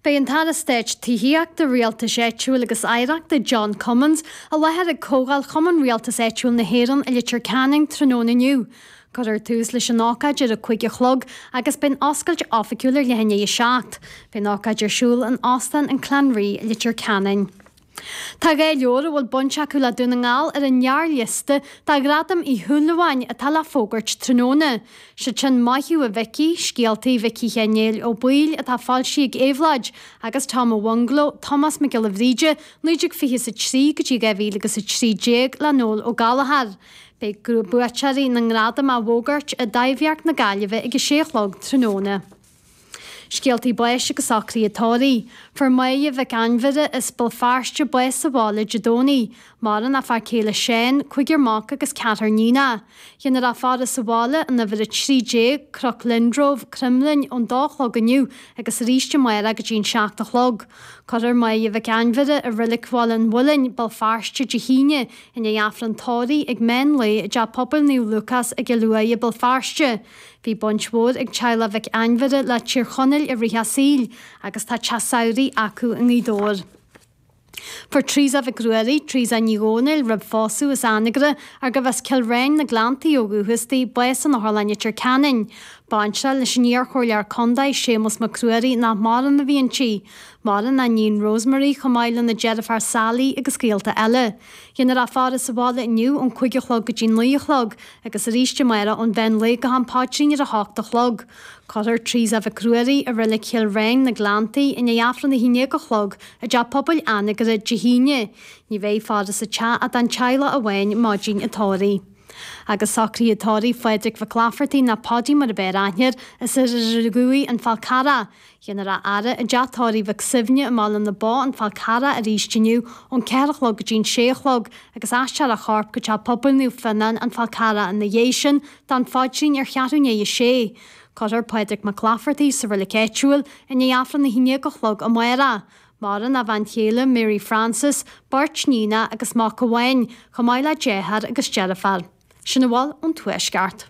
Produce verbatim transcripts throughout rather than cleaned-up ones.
Beidh an tAire Stáit Tithíochta, Rialtais Áitiúil agus Oidhreachta John Cummins i láthair ag Comhdháil Chumann Rialtais Áitiúil na hÉireann i Leitir Ceanainn tráthnóna inniu. Cuirfear tús leis an ócáid ar a cúig a chlog agus beidh an oscailt oifigiúil ar leath i ndiaidh a seacht. Beidh an ócáid ar siúl in Óstán an Clanree i Leitir Ceanainn. Tá dhá leabhar a bhfuil baint acu le Dún na nGall ar an ngearrliosta do Ghradam Uí Shúilleabháin atá le fógairt tráthnóna. Siad sin Maith Thú a Mhicí, Scéalta Mhicí Sheáin Néill Ó Baoill atá foilsithe ag Éabhlóid, agus Tom a Bhungalow, Tomás Mac Giolla Bhríde, naoi déag fiche is a trí go dtí dhá mhíle agus a trí déag le Noel Ó Gallchóir. Beidh buaiteoirí na ngradam á bhfógairt i dTaibhdhearc na Gaillimhe ag a sé a chlog tráthnóna. Scéaltaí báis agus socruithe tórraimh. Fuair Máire Mhic Ainmhire as Béal Feirste bás sa bhaile Dé Domhnaigh. Maireann a fear céile Seán, cúigear mac agus ceathrar níonacha. Déanfar a faire sa bhaile in uimhir a trí déag, Cnoc Lindrove, Cromghlinn, ón dó a chlog inniu agus arís amárach go dtí an seacht a chlog. Cuirfear Máire Mhic Ainmhire i Reilig Bhaile an Mhuilinn, Béal Feirste, Dé hAoine, i ndiaidh Aifreann tórraimh ag meán lae i dTeach Pobail Naomh Lúcás i gCill Uaighe, Béal Feirste. Bhí baint mhór ag teaghlach Mhic Ainmhire le Tír Chonaill i rith a saoil agus tá teach samhraidh acu i nGaoth Dobhair. Fuair Teresa Mhic Ruairí, Teresa Ní Dhomhnaill, roimh phósadh as Anagaire, ar gurbh as Cill Réin na Gleanntaí ó dhúchas di, bás in Otharlann Leitir Ceanainn. Baintreach leis an iarchomhairleoir contae Séamus Mac Ruairí nach maireann a bhí inti. Maireann a níon Rosemary chomh maith lena deirfiúr Sally agus gaolta eile. Déanfar a faire sa bhaile inniu ón cúig a chlog go dtí naoi a chlog agus arís amárach ón mheán lae go ham paidrín ar a hocht a chlog. Cuirfear Teresa Mhic Ruairí i Reilig Chill Réin, na Gleanntaí, i ndiaidh Aifreann a haon déag a chlog i dTeach Pobail Anagaire Dé hAoine. Ní bheidh faire sa teach ach don teaghlach amháin maidin an tórraimh. Agus socruithe tórraimh Phádraig Mhic Laifeartaigh nó Paudie mar ab fhearr aithne air, as Iarthar Dhuibh, An Fál Carrach. Déanfar a fhaire i dteach tórraimh Mhic Suibhne i mBaile na Bó, An Fál Carrach arís inniu ón ceathair a chlog go dtí an sé a chlog agus aistreofar a chorp go Teach Pobail Naomh Fionnán, An Fál Carrach ina dhiaidh sin don phaidrín ar cheathrú i ndiaidh a sé. Cuirfear Pádraig Mac Laifeartaigh sa reilig áitiúil i ndiaidh Aifreann a haon déag a chlog amárach. Maireann a bhean chéile Mary Frances, beirt níonacha agus mac amháin, chomh maith le deartháir agus deirfiúr. Sin a bhfuil ón Tuaisceart.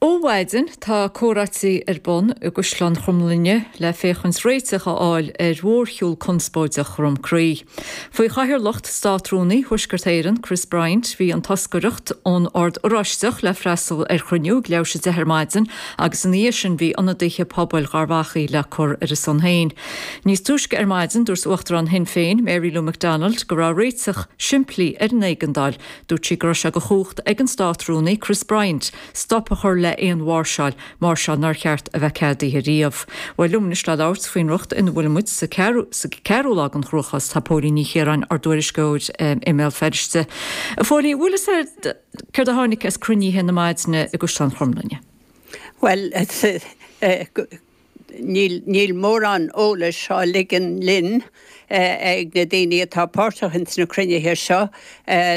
Ó mhaidin tá comhráití ar bun i gCaisleán Chromghlinne le féachaint réiteach a fháil ar mhórshiúl conspóideach Dhrom Crí. Faoi chathaoirleacht Státrúnaí Thuaisceart Éireann, Chris Bryant, bhí an toscaireacht ón Ord Oráisteach le freastal ar chruinniú ag leathuair tar éis a deich ar maidin agus ina dhiaidh sin bhí ionadaithe pobail Gharbh Achaidh le cur ar a son féin. Níos túisce ar maidin dúirt Uachtarán Shinn Féin, Mary Lou McDonald, go raibh réiteach simplí ar an éigeandáil. Dúirt sí go raibh sé de chumhacht ag an Státrúnaí, Chris Bryant, stop a chur le aon mháirseáil, máirseáil nár cheart a bheith ceadaithe riamh. Bhuel liom anois le labhairt faoin riocht ina bhfuil muid sa ceathrú lá den chruachás tá Póilín Ní Chiaráin, ár dtuairisceoir i mBéal Feirste. A Phóilín, bhfuil fhios agat céard a tháinig as cruinnithe na maidine i gCaisleán Chromghlinne? Bhuel, níl níl mórán eolais á ligean linn ag na daoine atá páirteach ins na cruinnithe seo.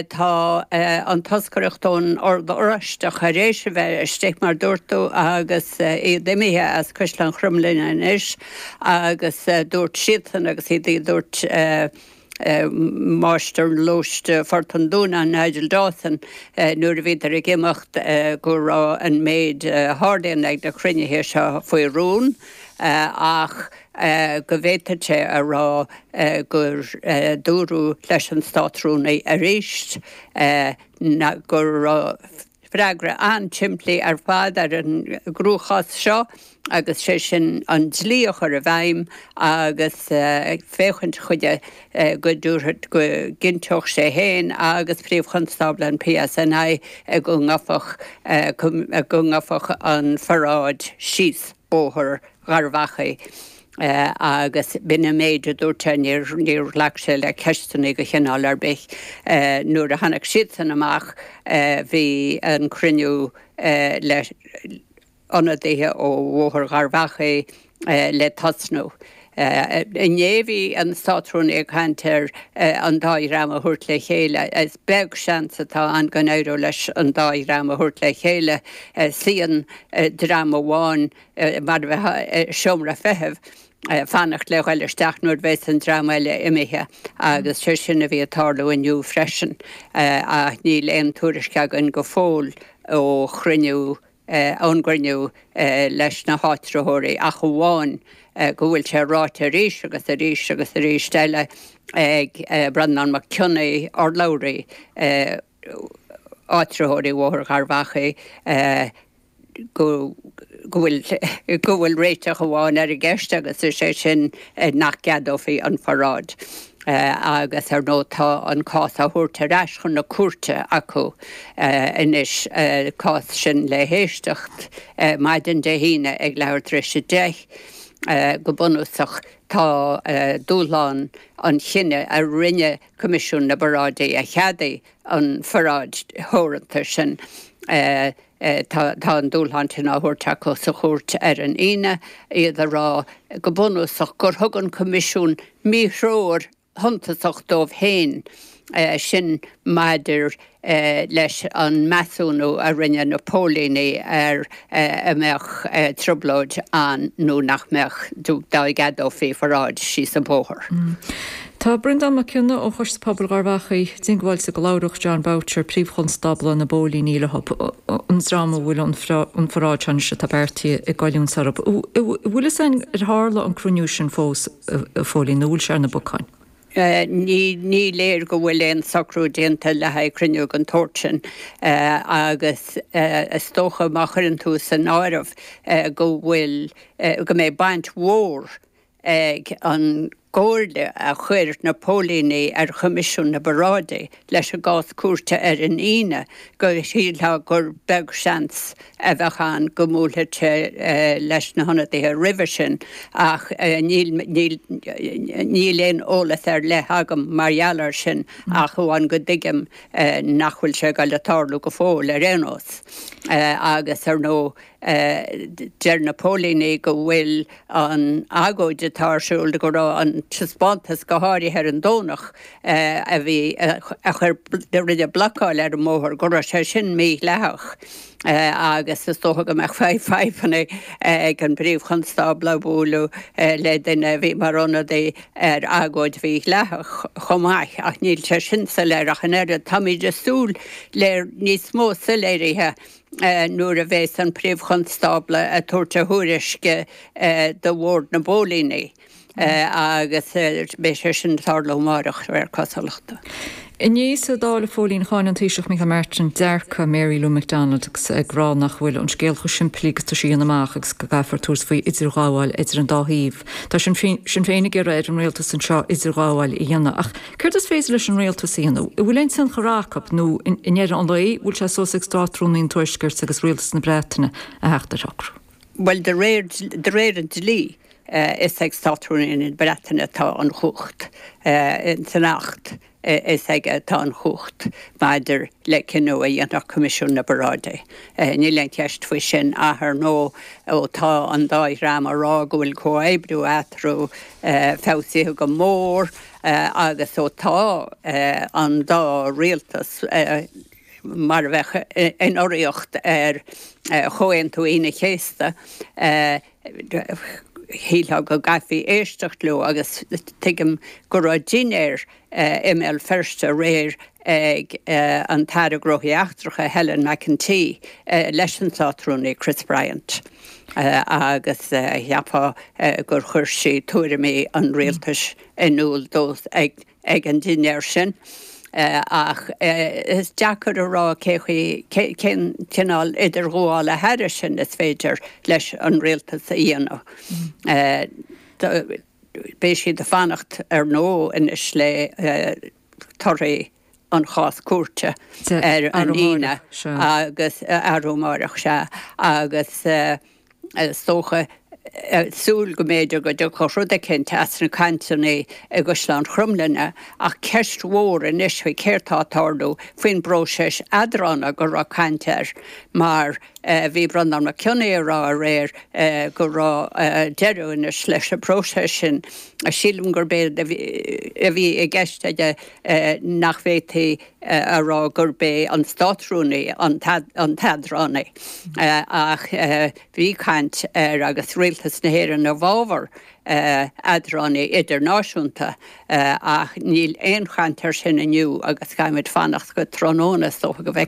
Tá an toscaireacht ón Ord Oráisteach tar éis a bheith istigh, mar dúirt tú, agus iad imithe as Caisleán Chromghlinne anois agus dúirt siadsan agus iad dúirt Máistir Lóiste Phort an Dúnáin, Nigel Dawson, nuair a bhíodar ag imeacht go raibh an méid a tharlaíonn ag na cruinnithe seo faoi rún ach go bhféadfadh sé a rá gur dúradh leis an Státrúnaí arís go raibh freagra an-simplí ar fad ar an gcruachás seo agus sé sin an dlí a chur i bhfeidhm agus féachaint chuige go dtabharfadh, go gcinnteodh sé féin agus Príomh-Chonstábla an PSNI go ngabhfadh, go ngabhfadh an pharáid síos Bóthar Gharbh Achaidh. Agus b'in an méid a dúirt sé, níor, níor ghlac sé le ceisteanna de chineál ar bith. Nuair a tháinig siadsan amach bhí an cruinniú le ionadaithe ó Bhóthar Gharbh Achaidh le tosnú. Inné bhí an Státrúnaí ag caint ar an dá dhream a thabhairt le chéile. Is beag seans atá ann go n-éireodh leis an dá dhream a thabhairt le chéile. Suíonn dream amháin mar a bheifeá i seomra feithimh fanacht le ghoil isteach nuair bheas an dream eile imithe agus sé sin a bhí ag tarlú inniu freisin ach níl aon tuairisc againn go fóill ó chruinniú ón gcruinniú leis na háitritheoirí ach amháin go bhfuil sé ráite arís agus arís agus arís eile ag Breandán Mac Cionnaith, urlabhraí áitritheoirí Bhóthar Gharbh Achaidh, go bhfuil go bhfuil réiteach amháin ar an gceist agus is é sin nach gceadófaí an pharáid. Agus ar ndóigh tá an cás á thabhairt ar ais chun na cúirte acu anois, cás sin le héisteacht maidin Dé hAoine ag leathuair tar éis a deich. Go bunúsach tá dúshlán an chinnidh a rinne Coimisiún na bParáidí a cheadaigh an pharáid theoranta sin, Tá an dúshlán sin á thabhairt acu sa chúirt ar an Aoine, iad ag rá go bunúsach gur thug an Coimisiún míthreoir shuntasach dóibh féin, sin maidir leis an measúnú a rinne na póilíní ar an mbeadh trioblóid ann nó nach mbeadh dá gceadófaí paráid síos an bóthar. Tá Breandán Mac Cionnaith ó Choiste Pobail Gharbh Achaidh diongbháilte go labhródh Jon Boutcher, Príomh-Chonstábla na bPóilíní leo, an dream a bhfuil an pharáid seo anois atá beartaithe ag goilliúint orthu. An bhfuil fhios againn ar tharla an cruinniú sin fós, a Phóilín, nó bhfuil sé ar na bacáin? Ní léir go bhfuil aon socrú déanta le haghaidh cruinniú den tsórt sin agus is dócha má chuireann tú san áireamh go bhfuil, go mbeidh baint mhór ag an gcomhairle a chuir na póilíní ar Choimisiún na bParáidí leis an gcás cúirte ar an Aoine go shílfeá gur beag seans a bheadh ann go mbuailfeadh sé leis na hionadaithe roimhe sin ach níl níl aon eolas ar leith agam mar gheall air sin ach amháin go dtuigim nach bhfuil sé ag dul a tarlú go fóill ar aon nós agus ar ndóigh Deir na póilíní go bhfuil an agóid atá ar siúl, go raibh an taispeántas go háirithe ar an Domhnach a bhí, a chuir, a rinne blocáil ar an mbóthar, go raibh sé sin mídhleathach agus is dócha go mbeadh fadhbanna ag an bPríomh-Chonstábla bualadh le duine a bhí mar ionadaí ar agóid mhídhleathach chomh maith ach níl sé sin soiléir ach an oiread. Táimid ag súil le níos mó soiléirithe nuair a bheas an Príomh-Chonstábla ag tabhairt a thuairisce do Bhord na bPóilíní agus beidh sé sin ag tarlú amárach, de réir cosúlachta. Inné sa Dáil, a Phóilín, cháin an Taoiseach Micheál Martin dearcadh Mary Lou McDonald agus ag rá nach bhfuil an scéal chomh simplí agus atá sí a dhéanamh amach agus go gcaithfear tabhairt faoi idirghabháil idir an dá thaobh. Tá Sinn Féin ag iarraidh ar an rialtas anseo idirghabháil a dhéanamh ach céard is féidir leis an rialtas a dhéanamh? An bhfuil aon tionchar acu nó i ndeireadh an lae, bhfuil sé suas ag Státrúnaí an Tuaiscirt agus rialtas na Breataine a theacht ar shocrú? Bhuel, de réir, de réir an dlí, is ag Státrúnaí na Breataine atá an chumhacht. San Acht, is aige atá an chumhacht maidir le cinneadh a dhéanfadh Coimisiún na bParáidí. Níl aon cheist faoi sin ach ar ndóigh ó tá an dá dhream ag rá go bhfuil comhoibriú eatarthu feabhsaithe go mór agus ó tá an dá rialtas mar a bheadh in urraíocht ar Chomhaontú Aoine an Chéasta, shílfeá go gcaithfí éisteacht leo agus tuigim go raibh dinnéar i mBéal Feirste aréir ag an tAire Gnóthaí Eachtracha Helen McEntee leis an Státrúnaí Chris Bryant agus cheapfá gur chuir sí tuairimí an rialtais in iúl dó ag ag an dinnéar sin ach is deacair a rá cé chaoi, cén cineál idirghabhála thairis sin is féidir leis an rialtas a dhéanamh. Beidh siad ag fanacht ar ndóigh anois le torthaí an chás cúirte ar an Aoine agus arú amárach, sea, agus is dócha súil go mb'fhéidir go dtiocfadh rud eicínt as na cainteanna i gCaisleán Chromghlinne ach ceist mhór anois faoi céard tá ag tarlú faoin bpróiseas eadrána go raibh caint air mar bhí Breandán Mac Cionnaith ag rá aréir go raibh deireadh anois leis an bpróiseas sin. Sílim gurb é a bhí i gceist aige nach bhféadfaí a rá gurb é an Státrúnaí an t-eadránaí ach bhí caint ar agus Rialtas na hÉireann i bhfabhar eadránaí idirnáisiúnta ach níl aon chaint air sin inniu agus caithfimid fanacht go tráthnóna is dócha go bhfeicfimid.